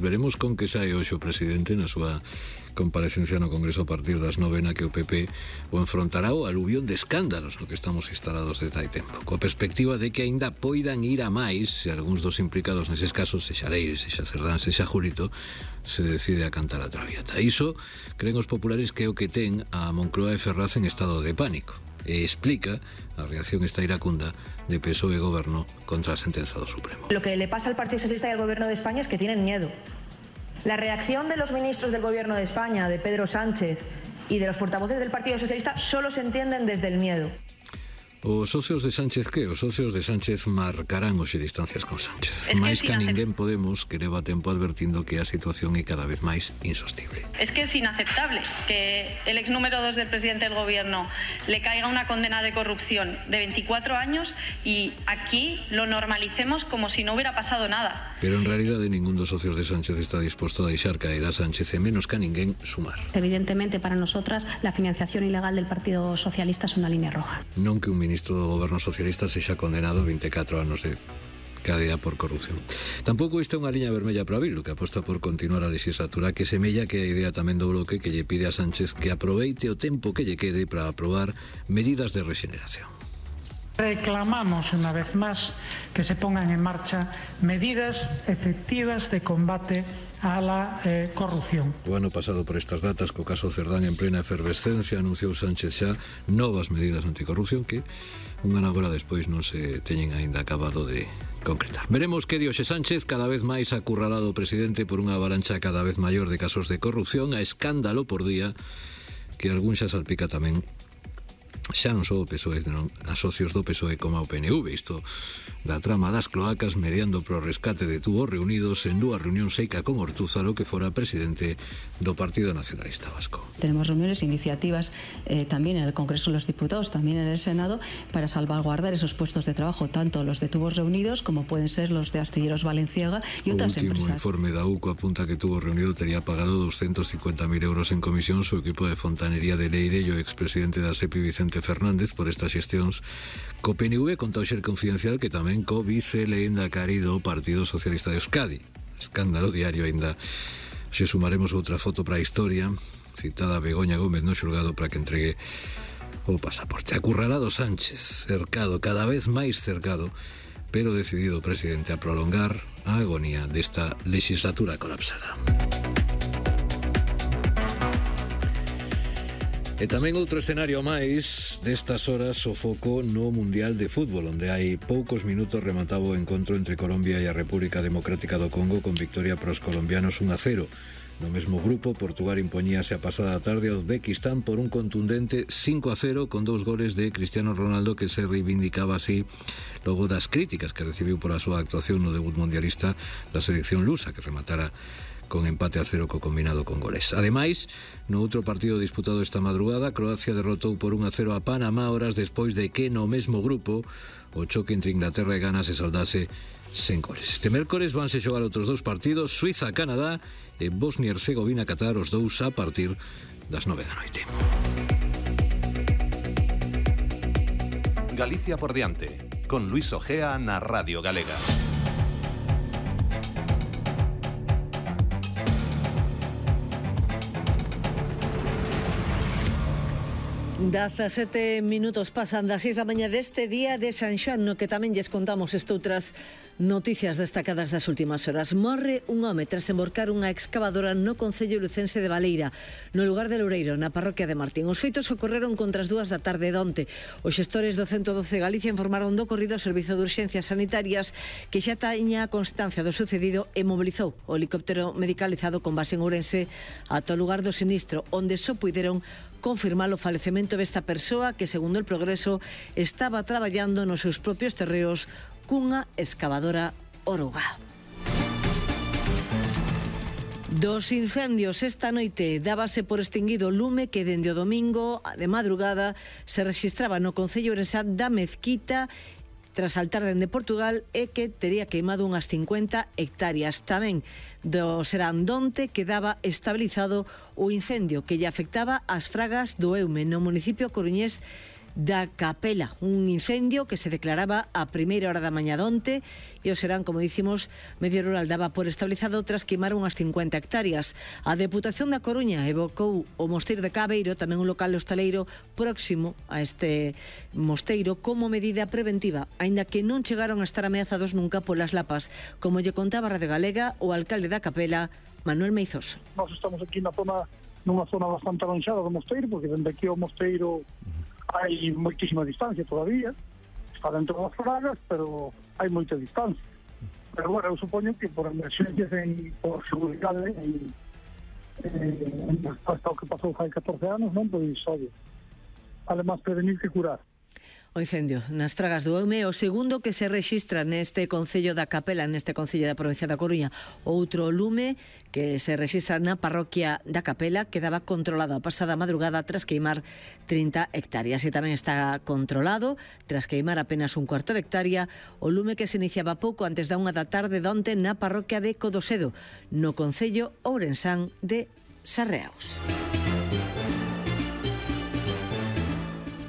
veremos con que sae hoxe o presidente na súa comparecencia no Congreso a partir das 9 na que o PP o enfrontará o aluvión de escándalos no que estamos instalados desde hai tempo, coa perspectiva de que aínda poidan ir a máis se algúns dos implicados neses casos, sexa Leire, sexa Cerdán, sexa Julito, se decide a cantar a traviata. Iso creen os populares que é o que ten a Moncloa e Ferraz en estado de pánico e explica a reacción esta iracunda de PSOE e Goberno contra a sentenza do Supremo. Lo que le pasa al Partido Socialista y al Gobierno de España es que tienen miedo. La reacción de los ministros del Gobierno de España, de Pedro Sánchez y de los portavoces del Partido Socialista solo se entienden desde el miedo. Os socios de Sánchez que? Os socios de Sánchez marcarán hoxe distancias con Sánchez. Máis que a ninguén Podemos que leva tempo advertindo que a situación é cada vez máis insostible. Es que es inaceptable que el ex número 2 del presidente del gobierno le caiga una condena de corrupción de 24 años y aquí lo normalicemos como si no hubiera pasado nada. Pero en realidade ningún dos socios de Sánchez está disposto a deixar caer a Sánchez e menos que a ninguén sumar. Evidentemente para nosotras la financiación ilegal del Partido Socialista es una línea roja. Non que un ministro do Goberno Socialista sexa condenado a 24 anos de cadea por corrupción. Tampouco isto é unha liña vermella para Bildu, que aposta por continuar a legislatura, que semella que a idea tamén do bloque que lle pide a Sánchez que aproveite o tempo que lle quede para aprobar medidas de rexeneración. Reclamamos una vez más que se pongan en marcha medidas efectivas de combate a la corrupción. O ano pasado por estas datas, co caso Cerdán en plena efervescencia, anunciou Sánchez xa novas medidas anticorrupción que un ano agora despois non se teñen aínda acabado de concretar. Veremos que di hoxe Sánchez, cada vez máis acurralado o presidente por unha avalancha cada vez maior de casos de corrupción, a escándalo por día, que algún xa salpica tamén xa non só o PSOE, non a socios do PSOE como ao PNV. Isto da trama das cloacas mediando pro rescate de Tubos Reunidos en dúas reunións seica con Ortúzaro, que fora presidente do Partido Nacionalista Vasco. Tenemos reuniones, iniciativas también en el Congreso de los Diputados, también en el Senado, para salvaguardar esos puestos de trabajo, tanto los de Tubos Reunidos como pueden ser los de Astilleros Valenciaga y otras empresas. O último informe da UCO apunta que Tubos Reunido tería pagado 250.000 euros en comisión su equipo de fontanería de Leire e o expresidente da SEPI Vicente Fernández por estas xestións co PNV, conta o Xer Confidencial que tamén co vice lehendakari do Partido Socialista de Euskadi. Escándalo diario aínda. Se sumaremos outra foto para a historia, citada Begoña Gómez no xulgado para que entregue o pasaporte. Acurralado Sánchez, cercado, cada vez máis cercado, pero decidido o presidente a prolongar a agonía desta legislatura colapsada. E tamén outro escenario máis destas horas, o foco no Mundial de Fútbol, onde hai poucos minutos remataba o encontro entre Colombia e a República Democrática do Congo con victoria para os colombianos 1-0. No mesmo grupo, Portugal impoñíase a pasada tarde a Uzbekistán por un contundente 5-0 con 2 goles de Cristiano Ronaldo, que se reivindicaba así logo das críticas que recibiu por a súa actuación no debut mundialista da selección lusa, que rematara con empate a 0 co combinado con goles. Ademais, no outro partido disputado esta madrugada, Croacia derrotou por 1-0 a Panamá horas despois de que no mesmo grupo o choque entre Inglaterra e Ghana se saldase sen goles. Este mércores vanse xogar outros 2 partidos, Suiza-Canadá e Bosnia-Herzegovina-Qatar, os 2 a partir das 9 da noite. Galicia por diante, con Luis Ojea na Radio Galega. 17 minutos pasan das 6 da mañá deste día de San Xoán, no que tamén lles contamos estoutras noticias destacadas das últimas horas. Morre un home tras emborcar unha excavadora no concello lucense de Baleira, no lugar de Loureiro, na parroquia de Martín. Os feitos ocorreron contra as 2 da tarde de onte. Os xestores do 112 Galicia informaron do ocorrido ao Servizo de Urxencias Sanitarias, que xa taña constancia do sucedido e mobilizou o helicóptero medicalizado con base en Ourense ata o lugar do sinistro, onde só puideron confirmar o falecemento desta persoa que, segundo el Progreso, estaba traballando nos seus propios terreos cunha excavadora oruga. Dos incendios esta noite dábase por extinguido o lume que dende o domingo de madrugada se rexistraba no concello ourensá da Mezquita tras saltar dende Portugal e que tería queimado unhas 50 hectáreas. Tamén do Serandonte quedaba estabilizado o incendio que lle afectaba as fragas do Eume no municipio coruñés da Capela, un incendio que se declaraba a primeira hora da mañá donte e o serán, como dicimos, medio rural daba por estabilizado tras queimar unhas 50 hectáreas. A Deputación da Coruña evocou o mosteiro de Cabeiro, tamén un local hostaleiro próximo a este mosteiro, como medida preventiva, aínda que non chegaron a estar ameazados nunca polas lapas, como lle contaba Radio Galega o alcalde da Capela, Manuel Meizoso. Nós estamos aquí nunha zona bastante avanzada do mosteiro, porque dende aquí ao mosteiro hai moitísima distancia todavía, está dentro das fragas, pero hai moita distancia. Pero bueno, eu supoño que por emerxencias por seguridade hasta o que pasou hai 14 anos, non? Pois, obvio, además prevenir que curar. O incendio nas Fragas do Eume, o segundo que se rexistra neste concello da Capela, neste concello da provincia da Coruña. Outro lume que se rexistra na parroquia da Capela quedaba controlado a pasada madrugada tras queimar 30 hectáreas. E tamén está controlado, tras queimar apenas un cuarto de hectárea, o lume que se iniciaba pouco antes da 1 da tarde donte na parroquia de Codosedo, no concello ourensán de Sarreaos.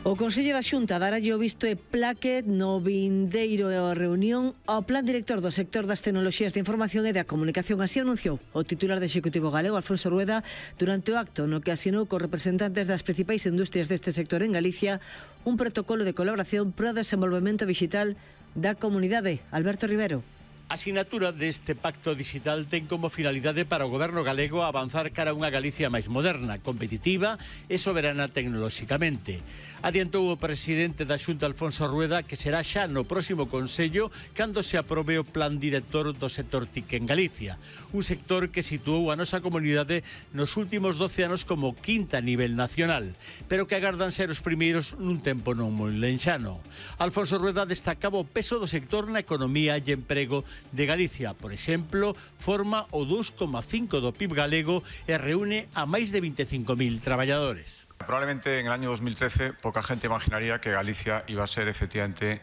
O Consello da Xunta daralle o visto e plaque no vindeiro reunión ao Plan Director do sector das tecnoloxías de información e da comunicación. Así anunciou o titular do Executivo galego, Alfonso Rueda, durante o acto no que asinou cos representantes das principais industrias deste sector en Galicia un protocolo de colaboración para o desenvolvemento digital da comunidade. Alberto Rivero. A sinatura deste pacto digital ten como finalidade para o goberno galego avanzar cara a unha Galicia máis moderna, competitiva e soberana tecnolóxicamente. Adiantou o presidente da Xunta, Alfonso Rueda, que será xa no próximo Consello cando se aprobe o plan director do sector TIC en Galicia, un sector que situou a nosa comunidade nos últimos 12 anos como quinta a nivel nacional, pero que agardan ser os primeiros nun tempo non moi lenxano. Alfonso Rueda destacaba o peso do sector na economía e emprego de Galicia. Por exemplo, forma o 2,5 do PIB galego e reúne a máis de 25.000 traballadores. Probablemente en el año 2013 poca gente imaginaría que Galicia iba a ser efectivamente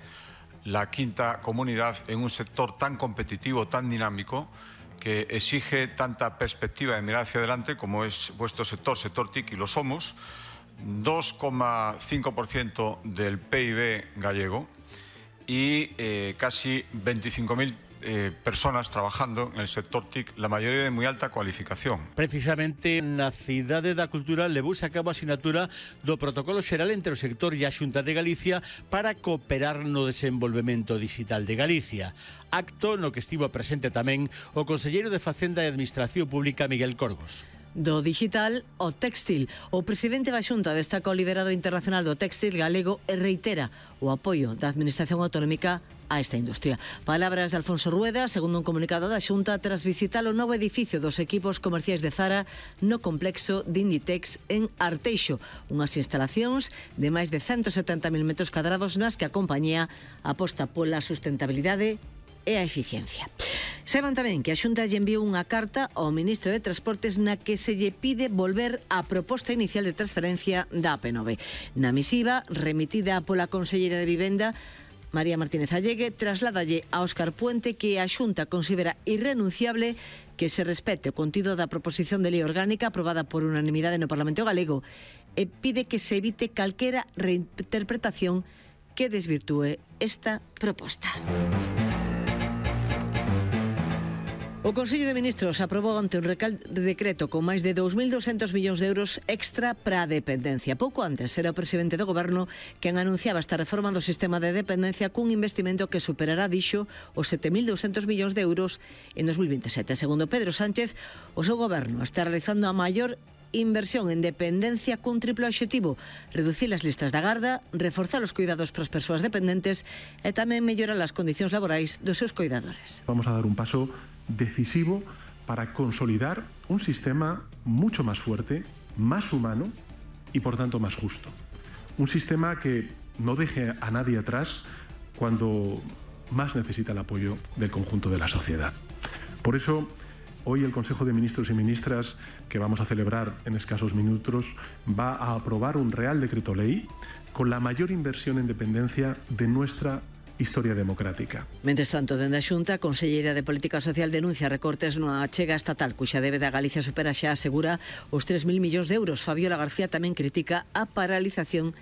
la quinta comunidad en un sector tan competitivo, tan dinámico, que exige tanta perspectiva de mirar hacia adelante como es vuestro sector TIC, y lo somos. 2,5% del PIB gallego y casi 25.000 personas trabajando en el sector TIC, la mayoría de muy alta cualificación. Precisamente na Cidade da Cultura levouse a cabo a sinatura do protocolo xeral entre o sector e a Xunta de Galicia para cooperar no desenvolvemento digital de Galicia. Acto no que estivo presente tamén o conselleiro de Facenda e Administración Pública, Miguel Corgos. Do digital ao téxtil. O presidente da Xunta destaca o liderado internacional do téxtil galego e reitera o apoio da Administración Autonómica a esta industria. Palabras de Alfonso Rueda, segundo un comunicado da Xunta, tras visitar o novo edificio dos equipos comerciais de Zara no complexo de Inditex en Arteixo, unhas instalacións de máis de 170.000 metros cadrados nas que a compañía aposta pola sustentabilidade e a eficiencia. Saiban tamén que a Xunta lle enviou unha carta ao ministro de Transportes na que se lle pide volver á proposta inicial de transferencia da AP9. Na misiva, remitida pola conselleira de Vivenda, María Martínez Allegue, trasládalle a Óscar Puente que a Xunta considera irrenunciable que se respete o contido da proposición de lei orgánica aprobada por unanimidade no Parlamento galego e pide que se evite calquera reinterpretación que desvirtúe esta proposta. O Consello de Ministros aprobou ante un decreto con máis de 2.200 millóns de euros extra para a dependencia. Pouco antes era o presidente do Goberno quen anunciaba esta reforma do sistema de dependencia cun investimento que superará, dixo, os 7.200 millóns de euros en 2027. Segundo Pedro Sánchez, o seu Goberno está realizando a maior inversión en dependencia cun triplo obxectivo: reducir as listas da garda, reforzar os cuidados para as persoas dependentes e tamén mellorar as condicións laborais dos seus cuidadores. Vamos a dar un paso decisivo para consolidar un sistema mucho más fuerte, más humano y por tanto más justo. Un sistema que no deje a nadie atrás cuando más necesita el apoyo del conjunto de la sociedad. Por eso, hoy el Consejo de Ministros y Ministras, que vamos a celebrar en escasos minutos, va a aprobar un Real Decreto Ley con la mayor inversión en dependencia de nuestra historia democrática. Mentres tanto, dende a Xunta, a conselleira de Política Social denuncia recortes nunha achega estatal cuxa débeda a Galicia supera xa, asegura, os 3.000 millóns de euros. Fabiola García tamén critica a paralización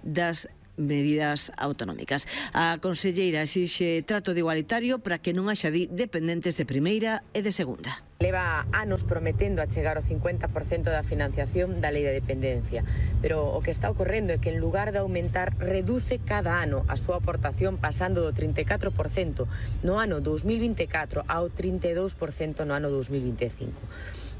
das medidas autonómicas. A conselleira exixe trato de igualitario para que non haxa dependentes de primeira e de segunda. Leva anos prometendo a chegar ao 50% da financiación da lei de dependencia, pero o que está ocorrendo é que en lugar de aumentar, reduce cada ano a súa aportación pasando do 34% no ano 2024 ao 32% no ano 2025.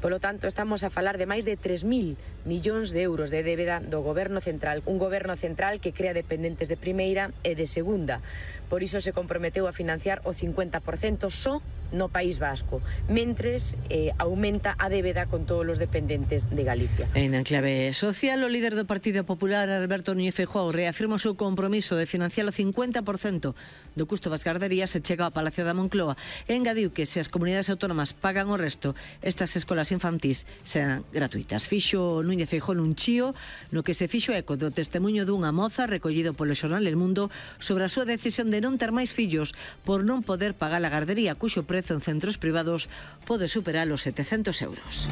Polo tanto, estamos a falar de máis de 3.000 millóns de euros de débeda do Goberno Central, un Goberno Central que crea dependentes de primeira e de segunda. Por iso se comprometeu a financiar o 50% só no País Vasco, mentres aumenta a débeda con todos os dependentes de Galicia. En enclave social, o líder do Partido Popular, Alberto Núñez Feijóo, reafirma o seu compromiso de financiar o 50% do custo das garderías se chega ao Palacio da Moncloa. Engadiu que se as comunidades autónomas pagan o resto, estas escolas infantís serán gratuitas. Fixo Núñez Feijóo nun chío no que se fixo eco do testemunho dunha moza recollido polo xornal El Mundo sobre a súa decisión de non ter máis fillos por non poder pagar a gardería, cuxo prezo en centros privados pode superar os 700 euros.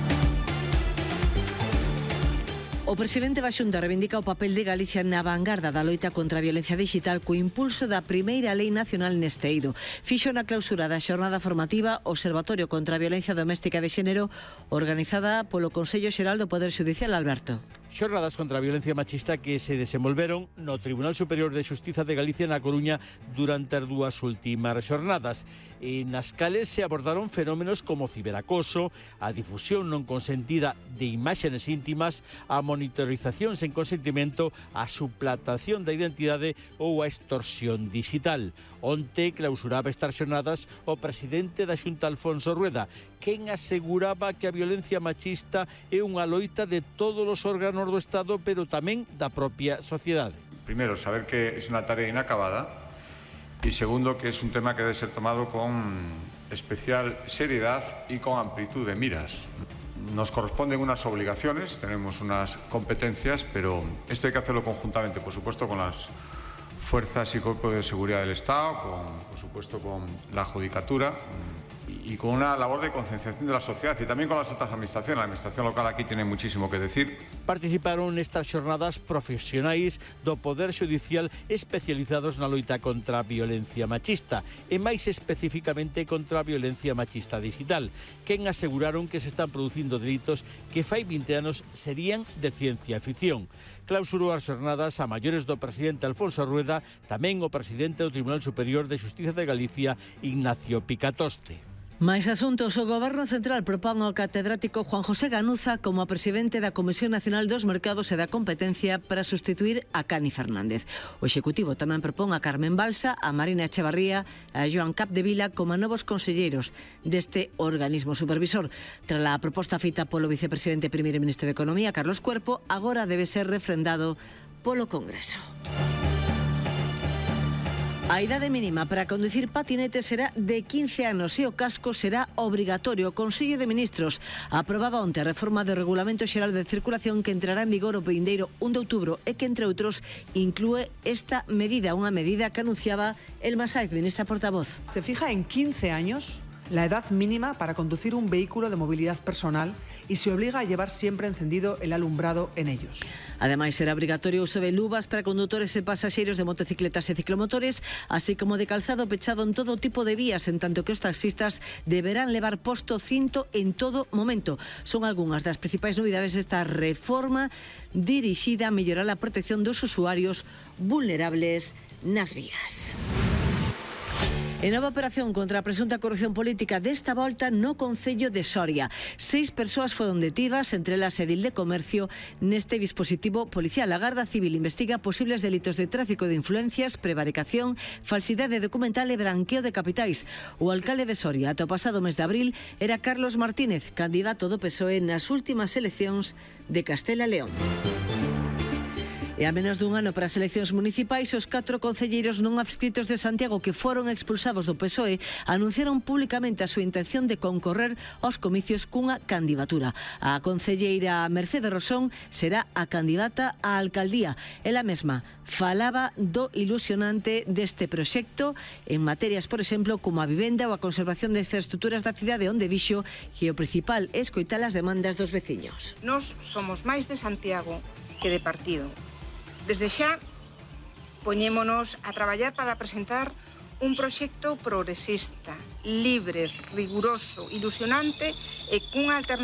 O presidente da Xunta reivindica o papel de Galicia na vanguarda da loita contra a violencia digital co impulso da primeira lei nacional neste eido. Fixo na clausura da xornada formativa o Observatorio contra a Violencia Doméstica de Xénero organizada polo Consello Xeral do Poder Xudicial. Alberto. Xornadas contra a violencia machista que se desenvolveron no Tribunal Superior de Xustiza de Galicia na Coruña durante as dúas últimas xornadas, e nas cales se abordaron fenómenos como o ciberacoso, a difusión non consentida de imaxes íntimas, a monitorización sen consentimento, a suplantación da identidade ou a extorsión digital. Onte clausuraba estas xornadas o presidente da Xunta, Alfonso Rueda, quen aseguraba que a violencia machista é unha loita de todos os órganos do Estado, pero tamén da propia sociedade. Primero, saber que es una tarea inacabada, y segundo, que es un tema que debe ser tomado con especial seriedad y con amplitud de miras. Nos corresponden unas obligaciones, tenemos unas competencias, pero esto hay que hacerlo conjuntamente, por supuesto, con las fuerzas y cuerpos de seguridad del Estado, por supuesto con la Judicatura y con una labor de concienciación de la sociedad y también con las otras administraciones. La administración local aquí tiene muchísimo que decir. Participaron nestas xornadas profesionais do Poder Xudicial especializados na loita contra a violencia machista e máis especificamente contra a violencia machista digital, quen aseguraron que se están producindo delitos que fai 20 anos serían de ciencia ficción. Clausurou as xornadas a maiores do presidente Alfonso Rueda, tamén o presidente do Tribunal Superior de Xustiza de Galicia, Ignacio Picatoste. Mais asuntos, o Goberno Central propón ao catedrático Juan José Ganuza como a presidente da Comisión Nacional dos Mercados e da Competencia para sustituir a Cani Fernández. O Executivo tamén propón a Carmen Balsa, a Marina Echevarría e a Joan Capdevila como novos conselleiros deste organismo supervisor. Tras a proposta feita polo vicepresidente e primeiro ministro de Economía, Carlos Cuerpo, agora debe ser refrendado polo Congreso. A idade mínima para conducir patinete será de 15 anos e o casco será obrigatorio. O Consello de Ministros aprobaba onte a reforma do Regulamento Xeral de Circulación que entrará en vigor o vindeiro 1 de outubro e que, entre outros, inclúe esta medida, unha medida que anunciaba Elma Saiz, ministra portavoz. Se fija en 15 años la edad mínima para conducir un vehículo de movilidad personal y se obliga a llevar siempre encendido el alumbrado en ellos. Ademais, será obrigatorio o uso de luvas para condutores e pasaxeiros de motocicletas e ciclomotores, así como de calzado pechado en todo tipo de vías, en tanto que os taxistas deberán levar posto cinto en todo momento. Son algunhas das principais novidades desta reforma dirixida a mellorar a protección dos usuarios vulnerables nas vías. En nova operación contra a presunta corrupción política desta volta no Concello de Soria. 6 persoas foron detidas, entre elas edil de comercio, neste dispositivo policial. A Garda Civil investiga posibles delitos de tráfico de influencias, prevaricación, falsidade documental e branqueo de capitais. O alcalde de Soria, ata o pasado mes de abril, era Carlos Martínez, candidato do PSOE nas últimas eleccións de Castela e León. E a menos dun ano para as eleccións municipais, os 4 concelleiros non adscritos de Santiago que foron expulsados do PSOE anunciaron públicamente a súa intención de concorrer aos comicios cunha candidatura. A concelleira Mercedes Rosón será a candidata á alcaldía. Ela mesma falaba do ilusionante deste proxecto en materias, por exemplo, como a vivenda ou a conservación de infraestructuras da cidade, onde dixo que o principal é escoitar as demandas dos veciños. Nós somos máis de Santiago que de partido. Desde xa Poñémonos a traballar para presentar un proxecto progresista, libre, riguroso, ilusionante e cunha alternativa